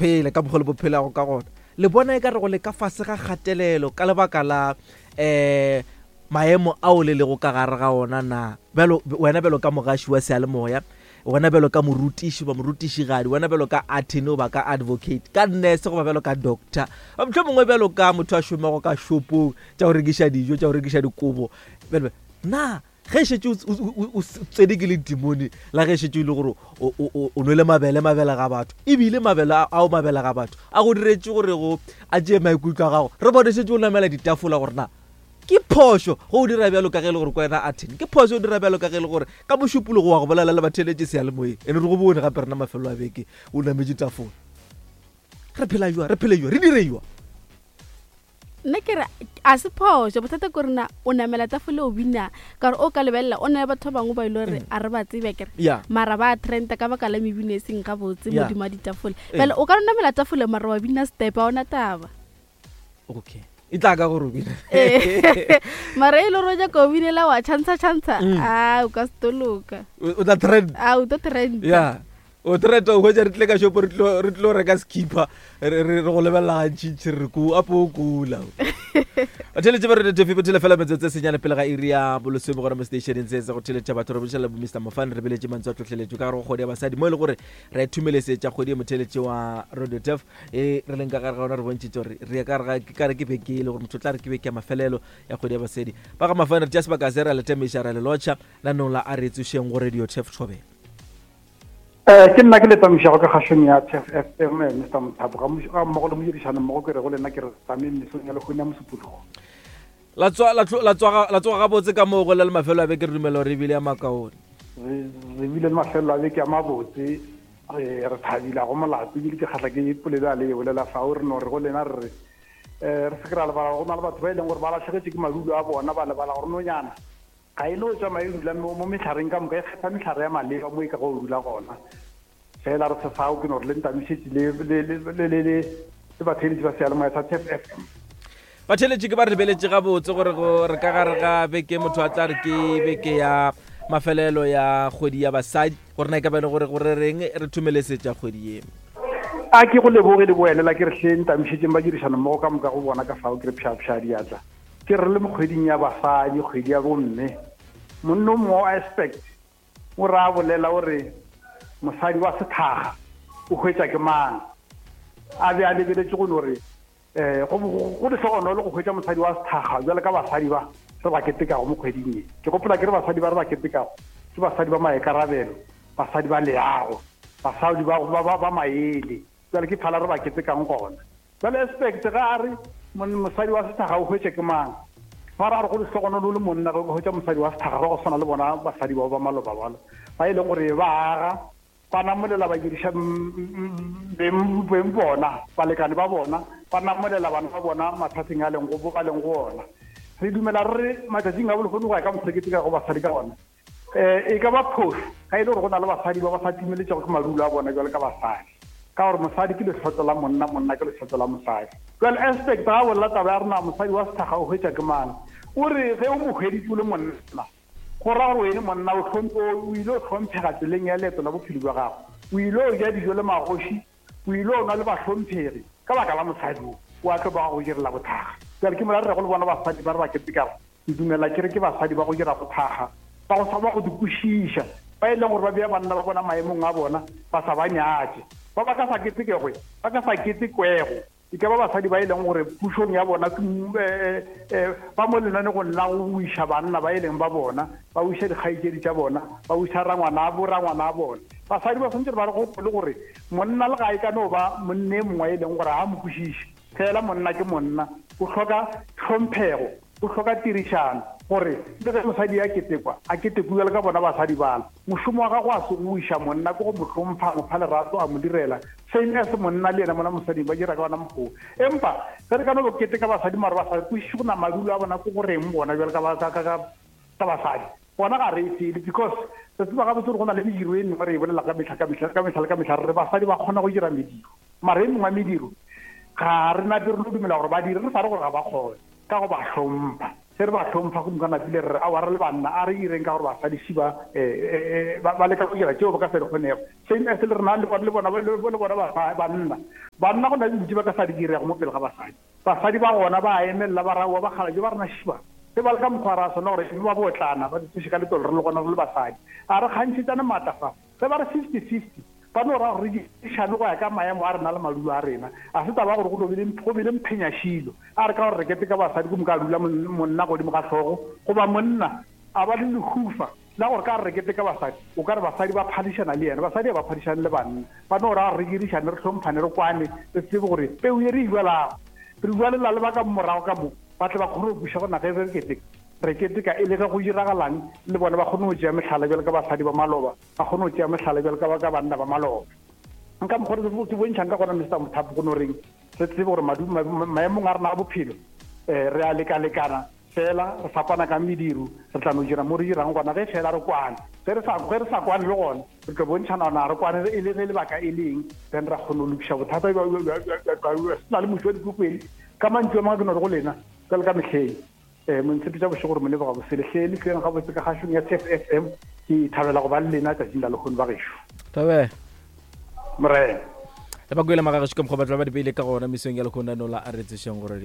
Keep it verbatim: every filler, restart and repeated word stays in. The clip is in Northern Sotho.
phele ka mokgwa le bo phelago ka gona le bona e ka re go le ka fase ga kgatelelo ka lebaka la um maemo ao le lego ka gare ga ona na bjalo wena bjalo ka mogaši wa seyalemoya wena bjalo ka morutiši goba morutišigadi wena bjalo ka attorney goba ka advocate ka nurse goba bjalo ka doctor motlho mongwe bjalo ka motho a šomago ka shopong tša go rekiša dijo tša go rekiša dikobo bjalo na ge e šetše o tsene ke le dimone la ge e šetše e le gore o nwele mabele mabele ga batho ebile mabele ao mabele ga batho a go diretše gore go a tšee maikutlo a gago re bone šetše o namela ditafola gore na ke phošo go o dira bjalo ka ge e le gore ko wena attorney ke phošo o dira bjalo ka ge e le gore ka mošupologo wa go bolela le batheletše seyalemoyeng ene re go bone gape rena mafelo a beke o nametše tafola re phela jwa re phele jwa re dire jwa nna ke re a se phošo bothata ke rena o namela tafole o bina ka gore o ka lebelela o na le batho ba bangwe ba ile gore a re ba tsebe kere ya mara ba trenda ka baka la mebino e seng gabotse Yeah. modimo wa ditafole Eh. bjale o ka no namela tafole mara wa bina step a ona taba okay e tla ka gore o bina Eh, mara e le gore o nyaka o binela wa chantsha chantsha Mm. a o ka se toloka o o tla trend a o tlo trenda ya o trenda o hwetša re tlile ka shopo re tlo re tlo reka skipper re re re go lebelela gantšintši re re ko apo o kula batheletše ba re tefe bothele fela metsotso e senyane pele ga iri ya bolesome gona mo stationeng se se go theletša batho re bošela bo mr mofane re beletše mantswe a tlhotlheletšo ka gare go kgwedi ya basadi mo e le gore re thumelesetša kgwedi e motheletše wa radio tef e re leng ka gare ga ona re bontšhitše gore re ya ka gare ga ke kare ke beke e le gore motho o tla re ke beke ya mafelelo ya kgwedi ya basadi ba ga mafane re tšea sebaka se re a le tamiša ra le lotšha lanong la a re tsošeng go radio tef thobela um ke nna ke le tamišago ka kgašong ya t f f m eh, mr mothapo ga mmogo ga mmogo le modirišano mmogo ke re go lena ke re tame mesong ya lekgone ya mosupologo la tsoga la tlo- la tsoga la tsoga gabotse ka moo go le le mafelo a beke re dumela gore ebile ya makaone re re bile le mafelelo a beke a mabotse re re thabile ga go molato ebile ke kgatlha ke polelo a le e bolela fao re no re go lena re re um re se ke ra lebala go na le batho ba e leng gore ba latlhegetse ke madulo a bona ba lebala gore nonyana ga e no tsamaya e dula mo mo metlhareng ka moka e kgetha metlhare ya maleba mo e ka go dula gona fela re se fao ke no re le ntamišetše le le- le- le- le- le le batheeletši ba seyalemoya sa tf f m batheletše ke ba re lebeletše gabotse gore go re ka gare ga beke motho a tla re ke beke ya mafelelo ya kgwedi ya basadi gore na e ka ba e le gore gore reng re thumelesetša kgwedi ye a ke go leboge le boelela ke re hle ntamišetšeng ba dirišano mmogo ka moka go bona ka fao ke re pšhapšha diatla ke re le mo kgweding ya basadi kgwedi ya bomme monna o mongwe wa aspect o re a bolela o re mosadi wa sethaga o hwetša ke mang a be a lebeletše go no re um go go lehlogonolo go hwetša mosadi wa sethaga jwale ka basadi ba re ba ketekago mo kgweding ye ke gopola ke re basadi ba re ba ketekago ke basadi ba maikarabelo basadi ba leago basadi ba, ba, ba, ba maele jale ke phala re ba ketekang gona jale aspect ga a re mon- mosadi wa sethaga o hwetše ke mang ba ra re go lehlogonolo le monna ge o ka hwetša mosadi wa sethaga ba go tshwana le bona basadi bao ba maloba balo ba e leng gore ba aga ba namolela ba diriša beng beng bona balekane ba bona ba namolela bana ba bona mathateng a leng go ba leng go ona re dumela re re matšatšing a bolehono go ya ka mokgwa ke ka go basadi ka gona um e ka ba phoso ga e le gore go na le basadi ba ba sa timeletšego ke madulo a bona jwale ka basadi ka gore mosadi ke lehlotlo la monna monna ke lehlotlo la mosadi jale aspect ga bolela taba ya rena mosadi wa sethaga o hwetša ke mang o re ge o mo hweditse o le monna go ra gore wene monna o hlomphe o ile o hlomphega tseleng ya leeto la bophelo bja gago o ile o ja dijo le magoši o ile o nwa le bahlomphegi ka baka la mosadi o o a tlo ba go direla bothaga jale ke mola re rego le bona basadi ba re ba ketekago ke dumela ke re ke basadi ba go dira bothaga ba go sa ba go di kwešiša ba e leng gore ba bea banna ba bona maemong a bona ba sa ba nyatše ba ba ka sa ketekegwe ba ka sa ketekwego e ka ba basadi ba e leng gore pušong ya bona ke m- eh, eh, ba mo lenanegong la go wiša banna ba e leng ba bona ba wiša dikgaetšedi tša bona ba wiša rangwana bo rangwana a bona basadi ba tshwanetse ba re gopole gore monna le ga e ka no ba monne e mongwe e leng gore ga mo kwešiše fela monna ke monna o hloka tlhomphego o hloka tirišano gore le ge mosadi a ketekwa a ketekwe bjalo ka bona basadi bala mošomo wa gago a se go iša monna ke go mo hlompha mo fa lerato a mo direla same as monna le yena mona mosading ba dira ka ona mokgwa empa ge re ka no keteka basadi mare ba sa kwešiše go na madulo a bona ke goreng bona bjalo ka ba- ka- ka- ka ka basadi bona ga re e fele because re tseba gabotse gore go na le mediro e mengwe re e bolela ka metlha ka metlha ka metlha le ka metlha re re basadi ba kgona go dira mediro mara e mengwe ya mediro ga re nape re no dumela gore ba dire re sa re gore ga ba kgone ka go ba hlompha Ge re ba hlompha go moka napile re re aowa re le banna a re ireng ka gore basadi ši ba eh, eh, ba ba leka go dira tšeo ba ka se di kgonego. Same as le rena le bona le bona le bona banna. Banna go na le dilo tše ba ka sa di dirego mo pele ga basadi. Basadi ba gona ba emelela ba ra aowa bakgalabje ba rena ši ba. Ge ba le ka mokgwa ra swana gore ba botlana ba di tsoše ka letolo re le gona re le basadi. A re kgantšhetšane maatla fa. Ge ba re fifty fifty ba no ra gore re dirišane go ya ka maemo a rena le madulo a rena. A se taba gore go tlo be le go be le mphenyašilo. A re ka gore re keteka basadi ko moka a dula monna godimo ga hlogo goba monna a ba le lehufa la gore ka re re keteka basadi o ka re basadi ba phadišana le yena. Basadi ga ba phadišane le banna. Ba no ra gore re dirišane re hlomphane re kwane re tsebe gore peu ye re e jalago re jwalela le ba ka morago ka mo ba tle ba kgone go buša gona ge re keteka. Re keteka e le ge go diragalang le bona ba kgone go tšea mehlala bjalo ka basadi ba maloba, ba kgone go tšea mehlala bjalo ka ba ka banna ba maloba. Nka mokgwa re ke bontšhang ka gona Mister Mothapo go no reng re tsebe gore maemong a rena a bophelo um re a lekalekana fela re fapana ka mediro re tla no dira mo re dirang gona ge fela re kwane. Ge re sa ge re sa kwane le gona re tlo bontšhana gona re kwane e le ge lebaka e leng then ra kgona go lokiša bothata se na le moši wa dikokwele ka mantšu a mangwe ke no re go lena jalo ka mehleng. Um montshepetša bošego gore mo leboga bosele hle le tleng gabotse ka kgašong ya T F F M. Ke thabela go ba le lena tšatšing la lehono ba gešo. Thabela. Morena. Le ba kwele magagešo ka mokgwa ba tla ba di beile ka gona mesong ya lehono la a re tsešeng gore